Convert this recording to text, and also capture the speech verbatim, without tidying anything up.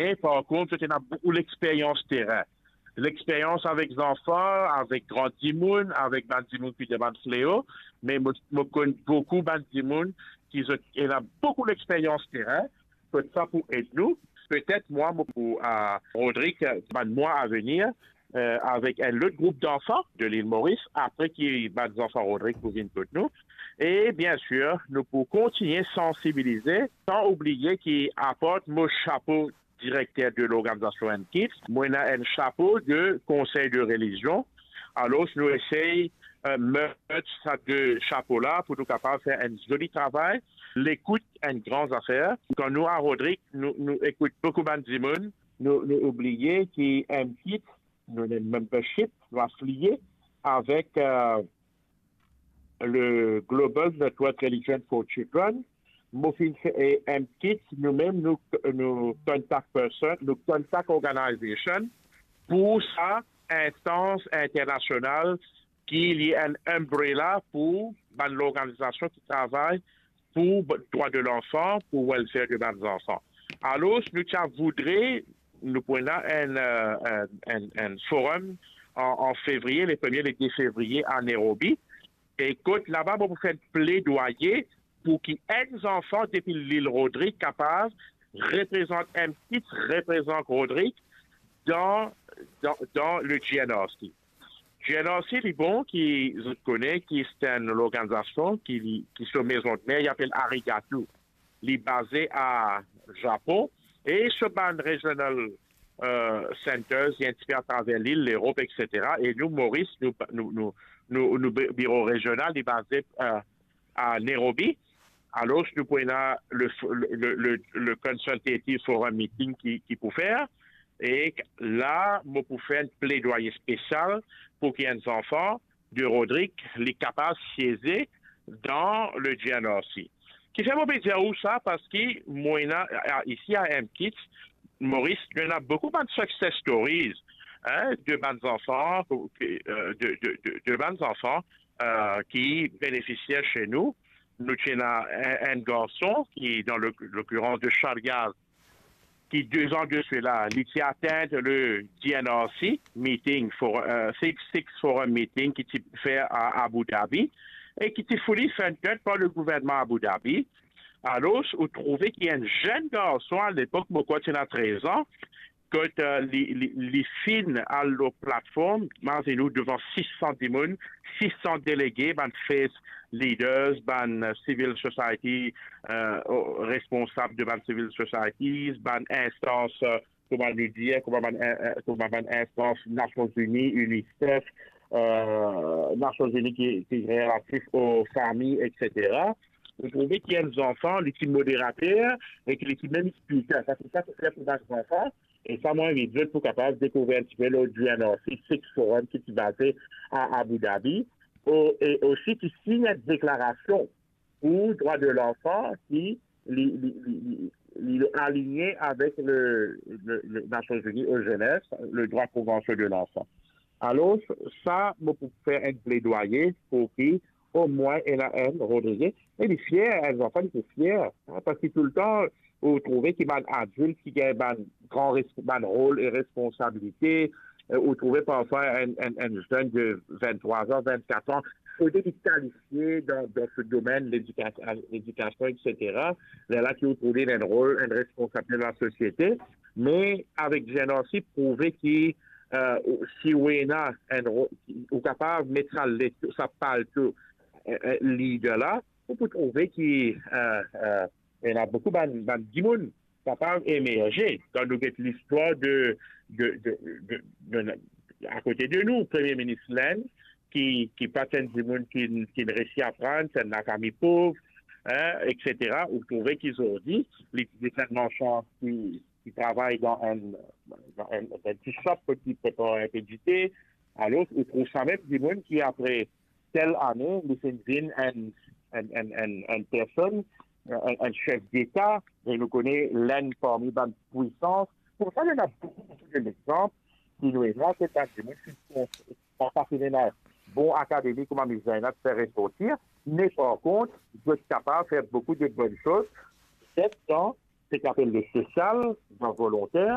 E par kont, zot ena boukou lexperyans terin. Lexperyans avek zanfan, avek gran dimoun, avek bann dimoun ki dan bann fleo, me mo, mo konn boukou bann dimoun ki zot ena boukou lexperyans terin, kot sa pou ed nou. Petet mwa, mo pou, a, Rodrigue, bann mwa avenir, eh, avek enn lot group zanfan de Lil Moris, apre ki bann zanfan Rodrigue pou vinn kot nou. E bien sir, nou pou kontigne sansibilize, san oubliye ki apar mo shapo direkter de lorganizasion M Kids, mo ena enn shapo de konsey de relizion. Alor, nou esey, eh, merge sa de shapo la pou nou kapav fer enn zoli travay. Lekout enn gran zafer. Kan nou a Rodrigue, nou, nou ekout boukou bann dimoun, nou, nou oubliye ki M Kids, nou ena membership, nou afiliye avek, eh, le Global Network Religion for Children. Mo finn fer, e M Kids, nou mem, nou, nou contact person, nou contact organization pou sa instans internasional ki li enn umbrella pou bann lorganizasion ki travay pou b-, drwa de lanfan, pou welfare de bann zanfan. Alor, nou ti a voudre, nou pou ena enn, eh, enn, enn, enn forum an, an fevriye, le premie, le de fevriye a Nairobi. E kot laba, mo pou fer enn pledwaye pou ki enn zanfan depi Lil Rodrigue kapav reprezant M Kids, reprezant Rodrigue dan, dan, dan le G N R C. G N R C, li bon, ki zot kone, ki se enn lorganizasion ki, li, ki so mezon mer, li apel Arigato. Li baze a Zapon, e so bann regional, eh, centers, li enn tipe atraver lil, Lerop, et cetera. E nou, Moris, nou, nou, nou, nou, nou bi-, biro rezional, li baze, eh, a Nairobi. Alor, nou pou ena le, le, le, le, le Consultative Forum Meeting ki, ki pou fer. E la, mo pou fer enn pledwaye spesial pou ki enn zanfan de Rodrigue, li kapav sieze dan le G N R C. Kifer mo pe dir ou sa? Parski mo ena, a, isi a M Kids, Moris, nou ena boukou bann success stories, hein, de bann zanfan, eh, de, de, de, de bann zanfan, eh, ki benefisier se nou. Nou ti ena enn, enn garson ki, dan le, lokirirans de Charyaz, ki de zan de sela, li ti atenn le G N R C meeting, for, eh, Six, Six Forum meeting ki ti fer a Abu Dhabi, e ki ti fourni funded par le gouvernman Abu Dhabi. Alor, ou trouve ki enn zenn garson, a lepok, mo krwar ti ena trez an, kot, eh, li, li, li finn al lor platform, mazinn ou, devan sis san dimoun, sis san delege, bann faith leaders, bann, eh, civil society, eh, o-, responsab de bann civil societies, bann instans, eh, kouma nou dir, kouma bann, eh, eh, kouma bann instans Nasion Zini, UNICEF, eh, Nasion Zini ki, ki relatif o fami, et cetera. Ou trouve ki enn zanfan, li ti moderater, e ki li ti mem speaker. Sa, se sa ki fer pou bann zanfan. E sa, mo invit zot pou kapav dekouvrir enn tipe lor G N R C, Six Forum ki ti baze a Abu Dhabi, o, e osi ki sign enn deklarasion pou drwa de lanfan ki li, li, li, li, li aligne avek le, le, le Nasion Zini o zenes, le drwa konvansion de lanfan. Alor, sa, mo pou fer enn pledwaye pou ki omwin ena enn Rodrigue, e li fier, enn zanfan, li pe fier, hein, parski toultan, ou trouve ki bann adilt ki gagn bann gran res-, bann rol e responsabilite, eh, ou trouve parfwa enn, enn, enn zenn de venntrwa an, vennkat an, fode li kalifie dan, dan se domenn ledika-, ledikasion, et cetera. Lerla ki ou trouve li ena enn rol, enn responsabilite dan lasosiete. Me avek G N R C, prouve ki, eh, ou, si ou ena enn ro-, ou kapav met sa let-, sa palto, eh, eh, lider la, ou pou trouve ki, eh, eh, ena boukou bann, bann dimoun kapav emerze. Kan nou get listwar de, de, de, de, de, akote de nou, Premie Minis L'Inde, ki, ki pa ti enn dimoun ki, ki resi aprann, ti enn lafami pov, hein, et cetera. Ou trouve ki zordi, li, li ti enn marsan ki, ki travay dan enn, dan enn, enn ti shop kot li prepar enpe dite. Alor, ou trouv sa mem dimoun ki apre tel ane, li finn vinn enn, enn, enn, enn, enn personn, enn, enn sef deta, e nou kone Lenn parmi bann pwisans. Koumsa, ena boukou, boukou de lexanp ki nou ena, se bann dimoun ki pa finn ena bon akademi kouma Miss Zainab fer resorti, me par kont, zot kapav fer boukou de bonn soz, petet dan seki apel le sosial, dan volonter,